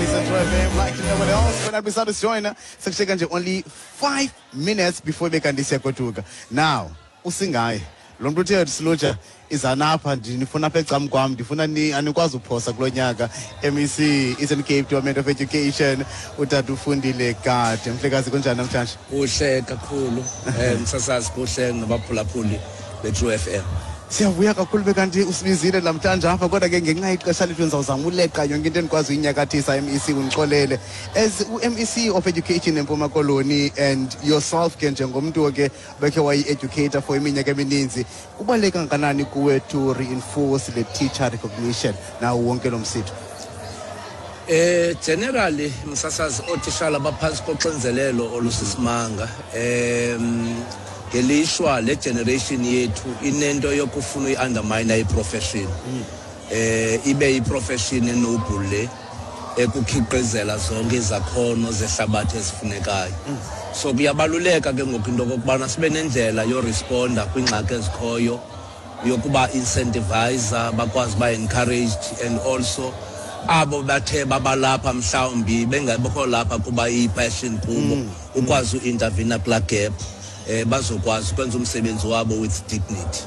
Central FM like no one else. When I be join sekusheka nje only 5 minutes before bekanti siyagoduka. Now, usingaye lo mntu uthe silutsha izanapha, ndifuna apha ecam kwam, ndifuna ni anikwazi uphosa kulo nyaka. MEC, Eastern Cape Department of Education, utata uFundile Gade. Mhlekazi, kunjani namhlanje? Kuhle kakhulu, msasazi, kuhle nabaphulaphuli be-True FM. Siyavuya kakhulu bekanti usibizile namhlanje apha, kodwa ke ngenxa yexesha lethu ndizawuzama uleqa yonke into endikwazi uyinyakathisa. MEC, undixolele. As u-MEC of Education eMpuma Koloni and yourself ke njengomntu ke bekhe wayi-educator for iminyaka emininzi, kubaluleke kangakanani kuwe to reinforce le teacher recognition nawo wonke lo msitho? Generally, msasazi, ootishala baphantsi koxinzelelo olusisimanga. Ngelishwa le generation yethu inento yokufuna uyi-undermine iprofession. Ibe iprofession enoble le ekukhiqizela zonke izakhono zehlabathi ezifunekayo. So kuyabaluleka ke ngoku into okokubana sibe nendlela yoresponda kwiingxaki ezikhoyo, yokuba incentivize, bakwazi uba encouraged, and also abo bathe babalapha mhlawumbi bengabikho lapha kuba iyi-passion kubo, ukwazi uintervene kulaa gap, bazokwazi ukwenza umsebenzi wabo with dignity.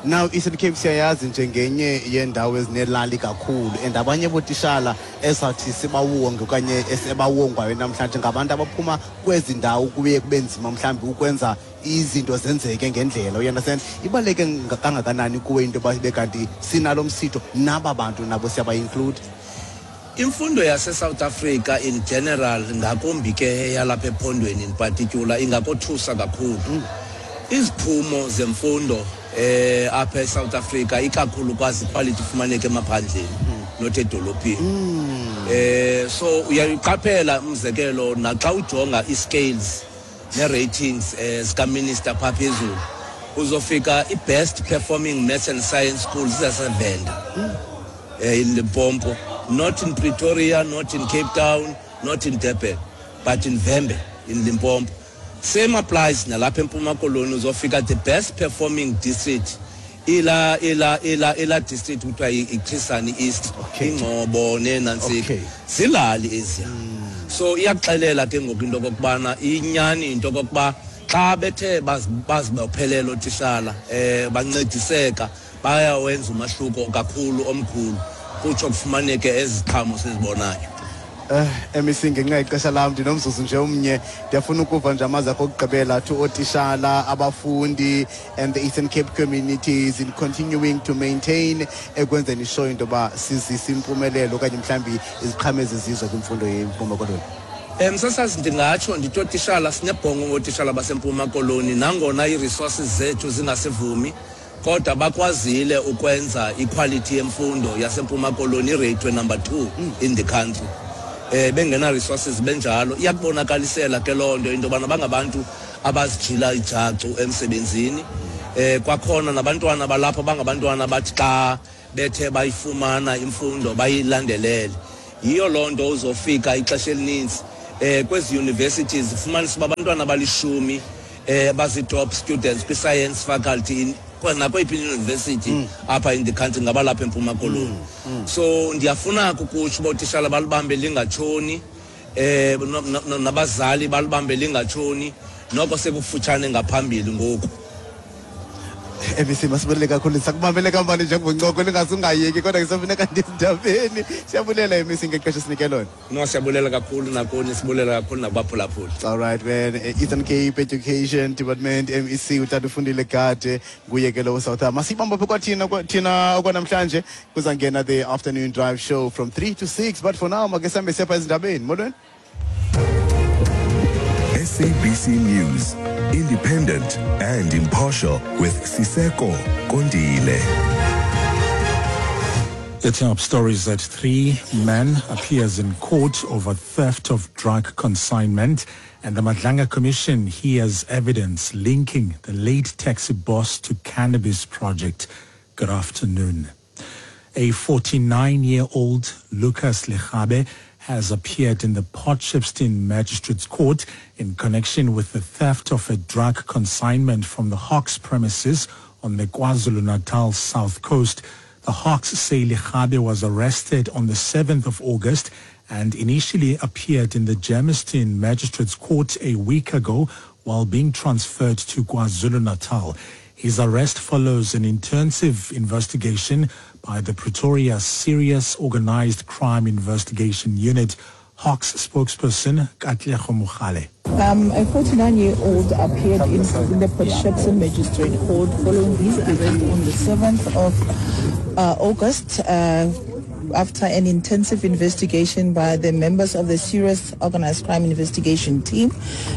Now, Eastern Cape siyayazi njengenye yendawo ezinelali kakhulu, and abanye bootishala esathi sibawonge okanye esebawongwayo namhlanje ngabantu abaphuma kwezi ndawo kuye kube nzima mhlawumbi ukwenza izinto zenzeke ngendlela, you understand? Ibaluleke kangakanani kuwe into yoba ibe kanti sinalo msitho, naba bantu nabo siyaba-include? Imfundo yase-South Africa in general, ngakumbi ke yalapha ephondweni in particular, ingakothusa kakhulu. Iziphumo zemfundo apha eSouth Africa, ikakhulukazi quality, ifumaneka emaphandleni, not edolophini. So uyayiqaphela, umzekelo, naxa ujonga i-scales ne-ratings zika-minister phaa phezulu, uzofika i-best performing maths and science schools zaseVenda, in Limpopo, not in Pretoria, not in Cape Town, not in Durban, but in Vhembe in Limpopo. Same applies nalapha eMpuma Koloni. Uzofika the best performing district ila district kuthiwa iChris Hani East, iNgcobo nenantsika. Zilali eziya. So iyakuxelela ke ngoku into okokubana inyani into okokuba xa bethe bazibophelela ootishala, bancediseka, bayawenza umahluko kakhulu omkhulu, kutsho kufumaneke eziqhamo sizibonayo. MEC, ngenxa yexesha lam, ndinomzuzu nje omnye, ndiyafuna ukuva nje amazwi akho okugqibela to ootishala, abafundi and the Eastern Cape communities in continuing to maintain ekwenzeni sure into yoba sizisa impumelelo okanye mhlawumbi iziqhamo ezizizwe kwimfundo yeMpuma Koloni. Msasazi, ndingatsho ndithi ootishala, sinebhongo ngootishala baseMpuma Koloni. Nangona ii-resources zethu zingasivumi, kodwa bakwazile ukwenza iquality yemfundo yaseMpuma Koloni ireyithwe number 2 in the country, bengena resources benjalo. Iyakubonakalisela ke loo nto into yobana bangabantu abazijila ijacu emsebenzini. Kwakhona nabantwana balapha bangabantwana bathi xa bethe bayifumana imfundo bayilandelele. Yiyo loo nto uzofika ixesha elininzi kwezi universities ufumanisa uba abantwana abalishumi bazi-top students kwi-science faculty nakweyiphi university apha in the country ngabalapha eMpuma Koloni. So ndiyafuna kukutsho uba ootishala balibambe lingatshoni, nabazali balibambe lingatshoni. Noko sekufutshane ngaphambili ngoku. MEC, masibulele kakhulu. Sakubambele kamvane njengoncoko lingase ungayeki, kodwa kusafuneka ndizindabeni. Siyabulela, MEC, ngexesha esinike lona. No, siyabulela kakhulu nakuni, sibulela kakhulu nakubaphulaphuli. All right man, Eastern Cape Education Department MEC, utata uFundile Gade, nguye ke lo. South masibamba pha kwathina thina okwanamhlanje. Kuzangena the Afternoon Drive show from 3 to 6, but for now make sihambe siyapha ezindabeni. Molweni. SABC News, independent and impartial, with Siseko Kondile. The top stories at 3. Man appears in court over theft of drug consignment, and the Madlanga Commission hears evidence linking the late taxi boss to cannabis project. Good afternoon. A 49-year-old Lucas Legabe has appeared in the Port Shepstone Magistrates Court in connection with the theft of a drug consignment from the Hawks premises on the KwaZulu-Natal South Coast. The The Hawks say Likhabe was arrested on the 7th of August and initially appeared in the Germiston Magistrates Court a week ago while being transferred to KwaZulu-Natal. His arrest follows an intensive investigation by the Pretoria Serious Organized Crime Investigation Unit. Hawks spokesperson Katlego Mogale. A 49-year-old appeared in the Port Shepstone Magistrate Court following his arrest on the 7th of August after an intensive investigation by the members of the Serious Organized Crime Investigation Team.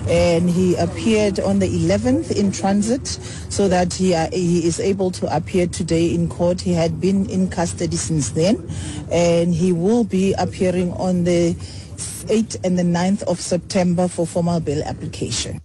And he appeared on the 11th in transit so that he is able to appear today in court. He had been in custody since then, and he will be appearing on the 8th and the 9th of September for formal bail application.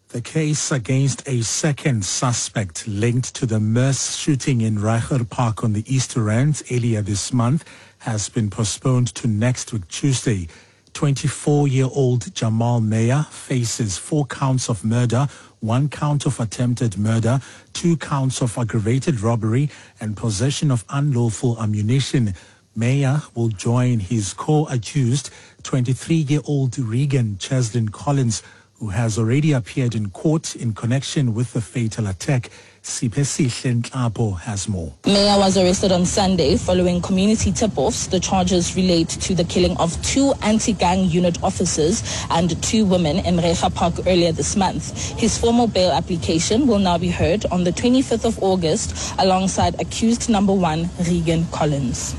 The case against a second suspect linked to the mass shooting in Reiger Park on the East Rand earlier this month has been postponed to next week, Tuesday. 24-year-old Jamal Meyer faces 4 counts of murder, 1 count of attempted murder, 2 counts of aggravated robbery and possession of unlawful ammunition. Meyer will join his co-accused, 23-year-old Regan Cheslin Collins, who has already appeared in court in connection with the fatal attack. Siphesihle Nhlapo has more. Meyer was arrested on Sunday following community tip-offs. The charges relate to the killing of 2 anti-gang unit officers and 2 women in Reiger Park earlier this month. His formal bail application will now be heard on the 25th of August alongside accused number 1, Regan Collins.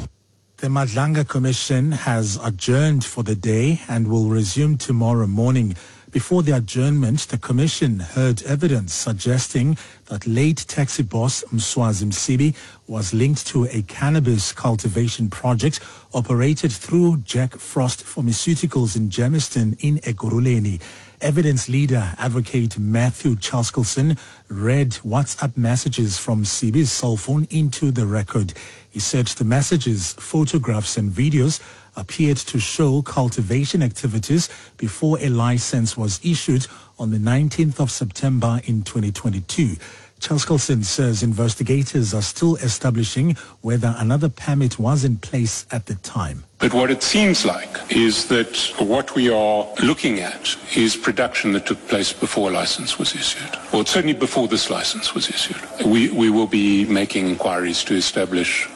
The Madlanga Commission has adjourned for the day and will resume tomorrow morning. Before the adjournment, the commission heard evidence suggesting that late taxi boss Mswazi Msibi was linked to a cannabis cultivation project operated through Jack Frost Pharmaceuticals in Germiston in Ekurhuleni. Evidence leader advocate Matthew Chaskelson read WhatsApp messages from Msibi's cell phone into the record. He said the messages, photographs and videos appeared to show cultivation activities before a license was issued on the 19th of September in 2022. Chaskelson says investigators are still establishing whether another permit was in place at the time. But what it seems like is that what we are looking at is production that took place before a license was issued, or certainly before this license was issued. We will be making inquiries to establish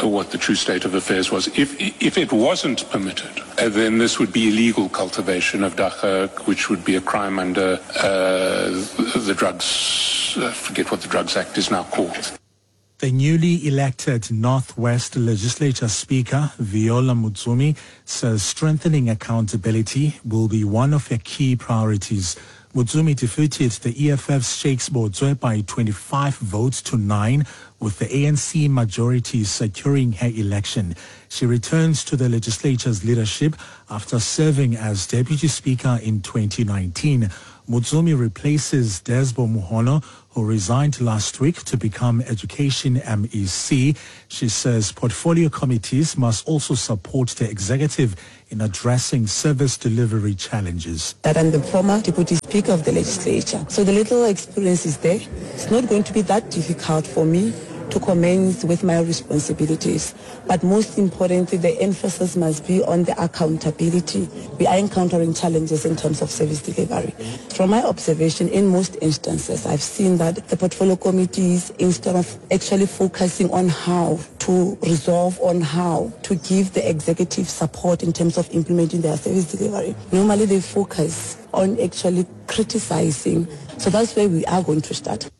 what the true state of affairs was. If it wasn't permitted, then this would be illegal cultivation of dagga, which would be a crime under the drugs, I forget what the Drugs Act is now called. The newly elected Northwest Legislature Speaker, Viola Motsumi, says strengthening accountability will be one of her key priorities. Motsumi defeated the EFF's Shakes Botswe by 25 votes to 9, with the ANC majority securing her election. She returns to the legislature's leadership after serving as Deputy Speaker in 2019. Motsumi replaces Desbo Muhono, who resigned last week to become Education MEC. She says portfolio committees must also support the executive in addressing service delivery challenges. That I'm the former Deputy Speaker of the legislature. So the little experience is there. It's not going to be that difficult for me to commence with my responsibilities. But most importantly, the emphasis must be on the accountability. We are encountering challenges in terms of service delivery. From my observation, in most instances, I've seen that the portfolio committees, instead of actually focusing on how to resolve, on how to give the executive support in terms of implementing their service delivery, normally they focus on actually criticizing. So that's where we are going to start.